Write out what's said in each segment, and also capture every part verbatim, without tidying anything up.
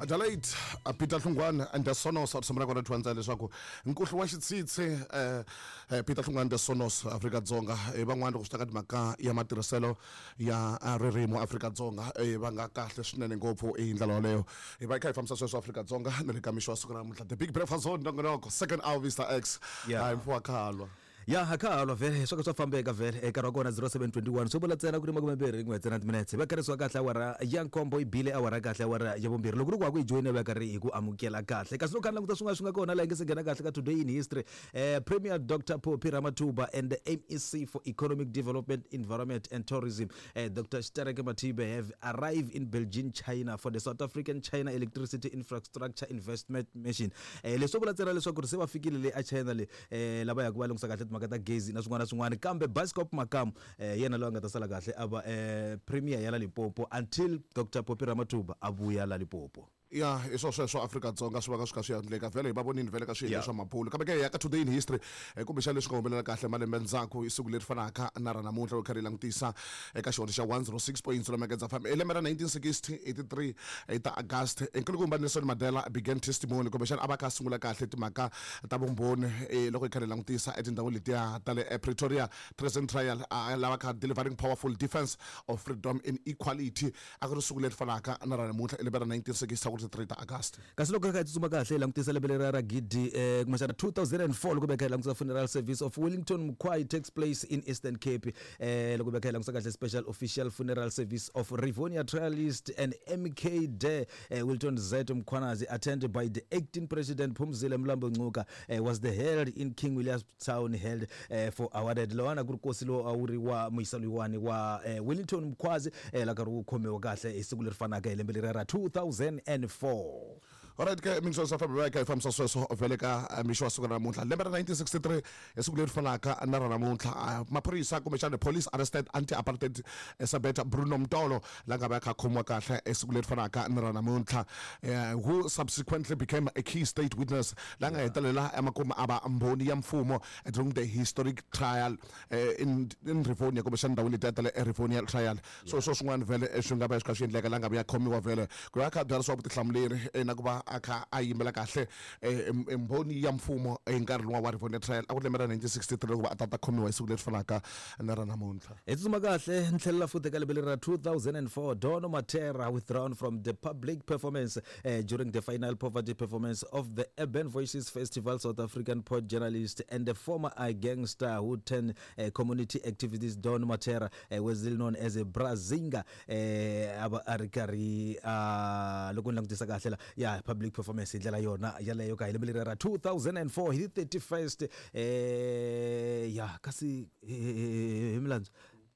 Adelaide uh, Peter Hlungwane and the Sonos a tshembela kona thwanza leswaku nkuhlu wa xitsitsi eh, eh, Peter Hlungwane the Sonos Afrika-Dzonga eh, van'wana loko swi ta ka timhaka ya matirhiselo ya ah, ririmi Afrika-Dzonga eh, va nga kahle swinene ngopfu hi ndlela yoleyo. Hi va hi kha hi fambisa sweswo Afrika-Dzonga na le ka mixo wa siku ra namuntlha, The Big Breakfast Zone, nongonoko second hour, Mister X. Yeah. Hayi, mfuwa khalwa. Ya ha kha halwa vhele, swo ka swa fambeka vhele. Nkarhi wa kona zero seven twenty-one, swo vula ntsena ku ri makume mbirhi rin'we ntsena timinetse, va karisiwa kahle awara ya nkombo, yi bile awara kahle awara ya vumbirhi. Loko ri ku wa ku yi joyina, va karhi hi ku amukela kahle. Kasi loko kha ni languta swin'wana swi nga kona laha hi nge se nghena kahle ka today in history, eh, Premier Doctor Phophi Ramathuba and the M E C for Economic Development, Environment and Tourism, eh, Doctor Stereke Mathibe, have arrived in Beijing, China, for the South African China Electricity Infrastructure Investment Mission. eh, leswo vula ntsena leswaku ri se va fikile le a China le, eh, lava yaka va lunghisa kahle timhaka ta gezi na swin'wana na swin'wana. Kambe Bascop Makamu, eh, yena loyi a nga ta sala kahle a va eh, premier ya la Limpopo until Doctor Phophi Ramathuba a vuya la Limpopo. Ya, hi swo sweswo Afrika-Dzonga swi va ka swi kha swi endleka vhele, hi va vonini vhele ka swiyenge Yeah. swa mabulu. Kambe ke hi ya ka today in history, eh, kumbexana leswi nga humelela kahle malembe ndzhaku hi siku leri fanaka na ra namuntlha. Loko kha ri langutisa eka xihondzo xa one zero six point zero Megedza F M, hi lembe ra nineteen sixty eighty-three hi ta August, nkulukumba Nelson Mandela began testimony, kumbexana a va kha a sungula kahle timhaka ta vumbhoni, eh, loko hi kha hi langutisa etindhawini letiya ta le eh, Pretoria Treason Trial, a lava kha delivering powerful defense of freedom and equality. A ku ri siku leri fanaka na ra namuntlha hi lembe ra nineteen sixty three ta August. Kasi loko kha hi tsutsuma kahle hi langutisa lembe leri ra gidi, eh, kumbexana two thousand and four, loko beka hi langutisa funeral service of Wellington Mkhwai takes place in Eastern Cape. eh, loko beka hi langutisa kahle, special official funeral service of Rivonia trialist and M K de eh, Wilton Z Mkhwanazi, attended by the acting president Phumzile Mlambo Ngcuka, eh, was the held in King Williamstown, held eh, for awarded lowana ku ri kosi lowu a wu ri wa muyisa loyiwani wa eh, Wellington Mkhwazi, eh, la karhi wu khomiwa kahle hi siku leri fanaka hi lembe leri ra two thousand and four. Alright ke, minso sa fambe ka hi fambisa sweswo vhele ka eh, mixo wa siku ra namuntlha, lembe ra nineteen sixty-three hi siku leri fanaka na ra namuntlha, ah, maphorisa kumbexana police arrested anti-apartheid saboteur Bruno Mtolo, la nga va kha a khomiwa kahle hi siku leri fanaka na ra namuntlha, eh, who subsequently became a key state witness, la nga hetelela emakumu a va mbhoni ya mfumo during the historic trial eh, in, in Rivonia, kumbexana ndhawini letiya ta le Rivonia Trial. So swo swin'wana vhele eh, swi nga va swi kha swi endleka la nga va ya khomiwa vhele ku va kha a byarisiwa vutihlamuleri eh, na ku va a kha a yimela kahle eh, em- em- mbhoni ya mfumo hi nkarhi luwa wa Rivonia Trial. A ku ri lembe ra nineteen sixty-three loko va a ta ta khomiwa hi siku leri fanaka na ra namuntlha. Hi tsutsuma kahle ni tlhelela futhi eka lembe leri ra two thousand and four, Don Mattera withdrawn from the public performance uh, during the final poverty performance of the Urban Voices Festival. South African poet, journalist and the former uh, gangster who turned uh, community activist Don Mattera uh, was still known as a Brazinga, uh, a va a ri karhi uh, loko ni langutisa kahle la ya public performance hi ndlela yona yaleyo ka hi lembe leri ra two thousand and four hi thirty-first. eh ya kasi hi milandzu,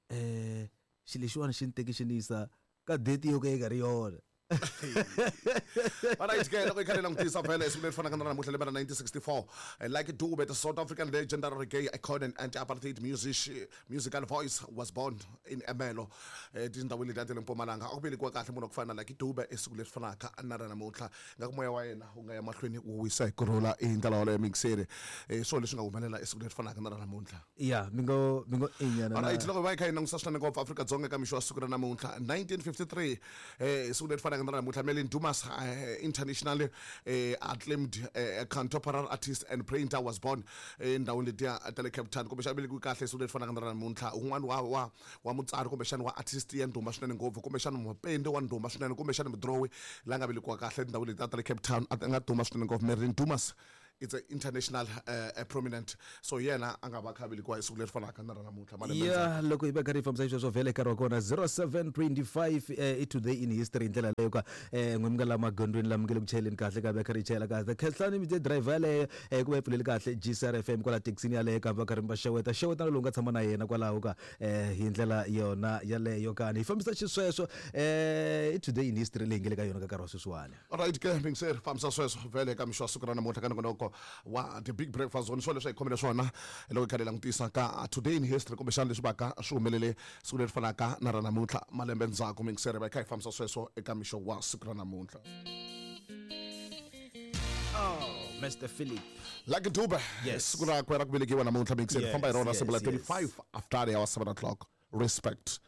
eh xilo lexiwani xi ni teki xi ni yisa ka date yo ka yi nga ri yona. Alright ke, loko hi kha hi langutisa vhele siku leri fanaka na namuntlha, lembe ra nineteen sixty-four, eh, Lucky Dube, the South African legendary reggae icon and anti-apartheid music, musical voice, was born in Ermelo, eh, tindhawini letiya ta le Mpumalanga. A ku velekiwa kahle munhu wa ku fana na Lucky Dube i siku leri fanaka na ra namuntlha. Nga ku moya wa yena wu nga ya mahlweni wu wisa hi kurhula hi ndlela yoleyo mixeri. eh, swo leswi nga humelela i siku leri fanaka na ra namuntlha. Ya, mi ngo mi ngo inyana. Alright, loko va hi kha hi langutisa swinene ngopfu Afrika-Dzonga ka mixo wa siku ra namuntlha, nineteen fifty-three, eh siku leri fanaka na ra namuntlha, Merlin Dumas, eh, internationally eh, acclaimed eh, contemporary artist and painter, was born endhawini letiya ta le Cape Town, kumbexana velekiwe kahle siku leri fanaka na ra namuntlha. Un'wana wa wa wa mutsari kumbexana wa artist ya ndhuma swinene ngopfu, kumbexana mupende wa ndhuma swinene, kumbexana mudrowi la nga velekiwa kahle etindhawini letiya ta le Cape Town, a nga duma swinene ngopfu, Merlin Dumas, it's a international uh, uh, prominent. So yena a nga va kha velekiwa hi siku leri fanaka na ra namuntlha malembe. Ya, loko hi va karhi hi fambisa xisweswo vhele, nkarhi wa kona zero seven twenty-five, eh, i today in history hi ndlela leyo ka eh, n'we mi nga la magondweni lama nge le ku chayeleni kahle, ka va karhi hi chayela kahle. Khehlani mi driver yaleyo, eh, ku va yi pfuleli kahle G C R F M kwala thekisini yaleyo, kambe va karhi mi va xeweta xeweta na lowu nga tshama na yena kwalaho ka eh, hi ndlela yona yaleyo kani hi fambisa xisweswo. eh, i today in history leyi nge le ka yona ka nkarhi wa sweswiwani. Alright ke, mingiseri, fambisa sweswo vhele ka mixo wa siku ra namuntlha ka nongonoko wa The Big Breakfast Zone. Swo leswi hi khomele swona loko hi kha hi langutisa ka today in history, kumbexana leswi vaka swi humelele siku leri fanaka na ra namuntlha malembe ndzhaku. Mingiseri, va hi kha hi fambisa sweswo eka mixo wa siku ra namuntlha. Oh, Mister Philip. Lucky Dube. Yes. Siku rakwe ra ku velekiwa namuntlha, mingiseri. Yes, famba hi rona yes, siku la yes. twenty-five after the hour seven o'clock. Respect.